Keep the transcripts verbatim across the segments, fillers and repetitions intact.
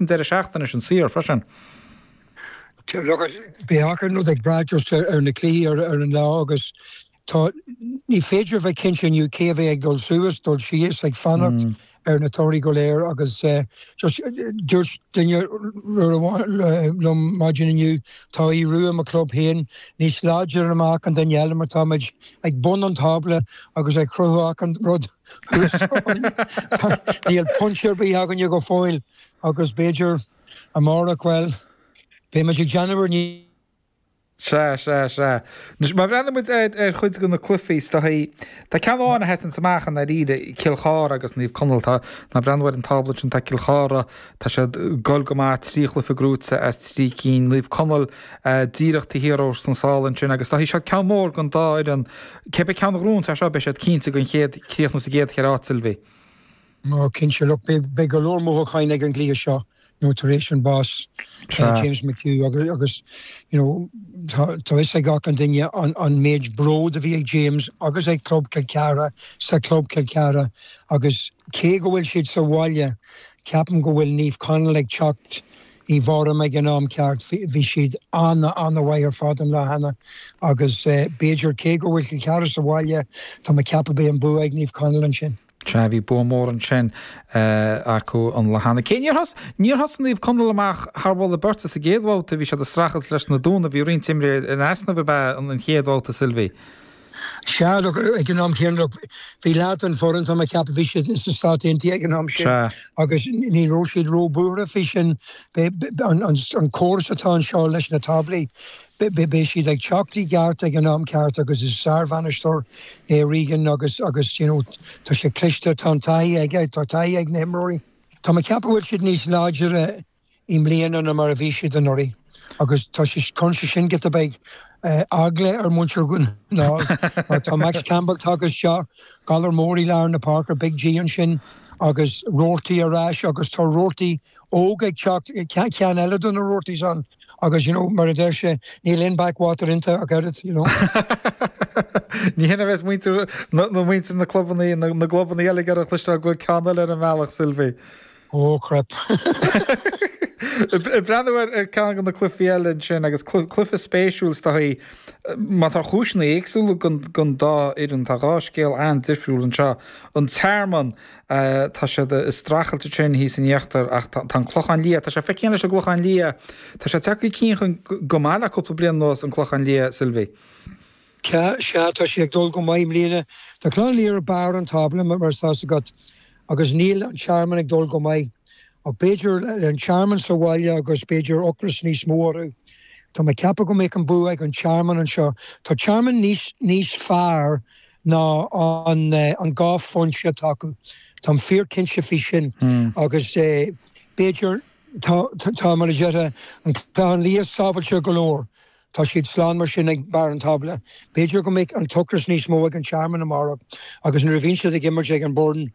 an deireadh seachtaine sin saor freisin. Beidh achan rud ag brath just ar na cluichí ar ar an lá agus tá ní féidir bheith cinnte inniu cé a bheidh ag dul suas, dul síos, ag fanacht mm. ar na torthaí go léir agus uh, just dúirt duine liom maidin inniu tá Aodh Rua mo club féin níos láidre amach an duine eile mar táimid ag bun an tábla agus ag cruthú an rud Níl pointe ar bith againne go fóill agus b'fhéidir amárach well beidh ag déanamh ní Sea sea sea. Má bhreathnaíonn muid ar ar chuid de na cluichí is dóichí Tá ceann amháin a sheasann amach an dáiríre Cill Chartha agus Naomh Conaill tá ná breathnú ar an tábla sin tá Cill Chartha tá siad ag dul go maith trí chluiche gnóthaithe as trí cinn Naomh Conaill díreach taobh thiar sna sála ansin agus tá siad ceann mór don dá fhoireann cibé ceann a ghnóthaíonn tá seo beidh siad cinnte den chéad críochnú sa gcéad cheithre áit Sylvie. Ó cinnte look beidh go leor mothúcháin ag an gcluiche seo nó tar éis an bás uh, James McHugh agus, agus you know, tá fhios ag gach an duine an, an méid bród a bhí ag James agus ag Club Chill Chartha sa Club Chill Chartha agus cé go bhfuil siad sa bhaile ceapaim go bhfuil Naomh Conaill ag teacht i bhform ag an am ceart bhí siad an- an-mhaith ar fad an lá cheana agus uh, b'fhéidir cé go bhfuil Cill Chartha sa bhaile tá mé ag ceapadh beidh an bua ag Naomh Conaill ansin. Sea bhí bua mór ansin acu an lá cheana. Cé níor thos níor thosaigh Naomh Conaill amach thar mholadh beirte sa gcéad bhabhta bhí siad ag streachailt leis na Dúnaibh bhí roinnt imreoirí in easnamh ab ea an chéad bhabhta Sylvie. Sea ag an am céanna bhí leath an fhoireann tá mé ag ceapadh bhí siad sna Stáit Aontaithe ag an am sin agus ní raibh siad róbhuartha faoi sin an córas atá anseo leis na táblaí. Beidh siad ag teacht i gceart ag an am ceart agus is sár-bhainisteoir é Regan agus agus you know, tá sé cliste tá taithí aige tá taithí ag na himreoirí. Tá mé ag ceapadh bhfuil siad níos láidre i mbliana ná mar a bhí siad anuraidh agus tá sé chun sin go beidh eagla ar mhuintir ná mar tá Max Campbell agus seo galar mór i lár na páirce Big G ansin agus Roarty ar ais agus tá Roarty óg ag teacht ceann eile do na Roartys an agus you know, mar a deir sé níl in backwater inta a gairid you know. Ní hé bheas muintir na muintir na clubanna na gclubanna eile ar a chluisteáil go bhfuil ceann eile ar an mbealach Sylvie. Ó crap. Breathnú ar ar ceann de na cluichí eile ansin agus cluiche spéisiúil is dóichí má tá cúiseanna éagsúla don dá fhoireann tá dhá scéal an-difriúil anseo. An Tearmann tá siad ag streachailt sin thíos in íochtar ach tá an Clochán Liath, tá sé feicthe leis an gClochán Liath, Tá sé tagtha chun cinn go maith le cúpla bliain anuas an Clochán Liath Sylvie. Sea tá sé ag dul go maith i mbliana Tá Clochán Liath ar barr an tábla mar tá agat agus níl an Tearmann ag dul go maith. Ach b'fhéidir an Tearmann sa bhaile agus b'fhéidir ocras níos mó orthu. Tá mé ag ceapadh go mbeidh an bua ag an Tearmann anseo. Tá Tearmann níos níos fearr ná an an dhá phointe atá acu. Tá fíorchinnte faoi sin mm. agus eh, b'fhéidir tá tá mar a deir an Clochán Liath sábháilte go leor. Tá siad slán mar sin ag barr an tábla. B'fhéidir go mbeidh an t-ocras níos mó ag an Tearmann amárach agus nuair a bhíonn siad ag imirt ag an Burren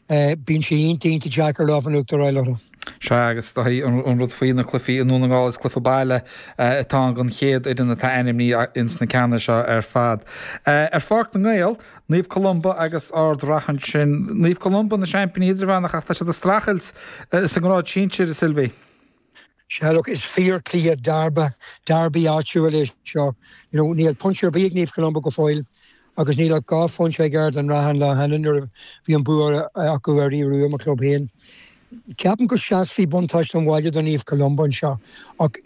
bíonn sé iontach deacair lámh in uachtar a fháil orthu. Sea agus an rud faoi na cluichí i nDún na nGall is cluiche baile atá an chéad fhoireann atá ainmnithe ins na ceanna seo ar fad. Ar Pháirc na nGael, Naomh Columba agus Ard Ratha ansin. Naomh Columba na seaimpíní idirmheánach ach tá siad ag streachailt sa ngrád sinsir Sylvie. Sea look is fíorchluiche derby derby áitiúil é seo. You know, níl pointe ar bith ag Naomh Columba go fóill agus níl ach dhá phointe ag Ard an Rátha an lá cheana nuair a bhí an bua acu ar Aodh Rua mo club féin. Ceapaim go seasfaidh buntáiste an bhaile do Naomh Columba anseo ach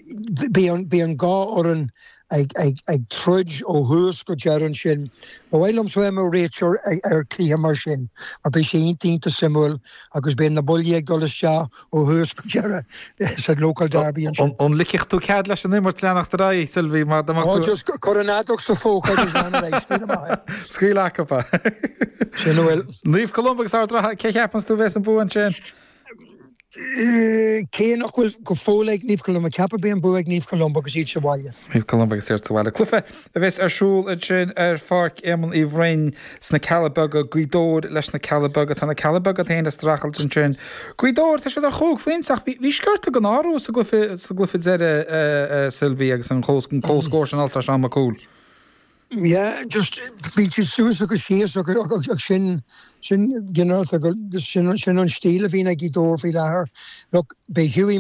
bhí an dhá fhoireann ag, ag, ag troid ó thús go deireadh ansin. Ba mhaith liom bheith i mo réiteoir ar chluiche mar sin, mar beidh sé iontach suimiúil agus beidh na buillí ag dul isteach ó thús go deireadh sa local derby ansin. An ligfeadh tú cead leis an imirt leanacht ar aghaidh Sylvie mar oh, just cuir an fheadóg sa phóca agus lean ar aghaidh, scaoil amach é. Scaoil acu. Sin a bhfuil. Naomh Columba agus Ard Ratha cé cheapann tú bheas an bua ansin? Cé nach bhfuil go fóill ag Naomh Columba ceapaim beidh an bua ag Naomh Columba agus iad sa bhaile. Naomh Columba agus iad sa bhaile. Cluiche a bheas ar siúl ansin ar Pháirc Éamonn Uí Bhroin sna Cealla Beaga Gaoth Dobhair leis na Cealla Beaga tá na Cealla Beaga féin ag streachailt ansin. Gaoth Dobhair tá siad ar chúig phointe ach bhí sciorta den athrú sa gcluiche sa gcluiche deiridh Sylvie agus an comhscór sin altar Seán Mac Cumhaill. Yeah, just bíonn siad suas agus síos agus sin sin ginearálta sin sin an stíl a bhíonn ag Gaoth Dobhair faoi láthair. Look, beidh Hughie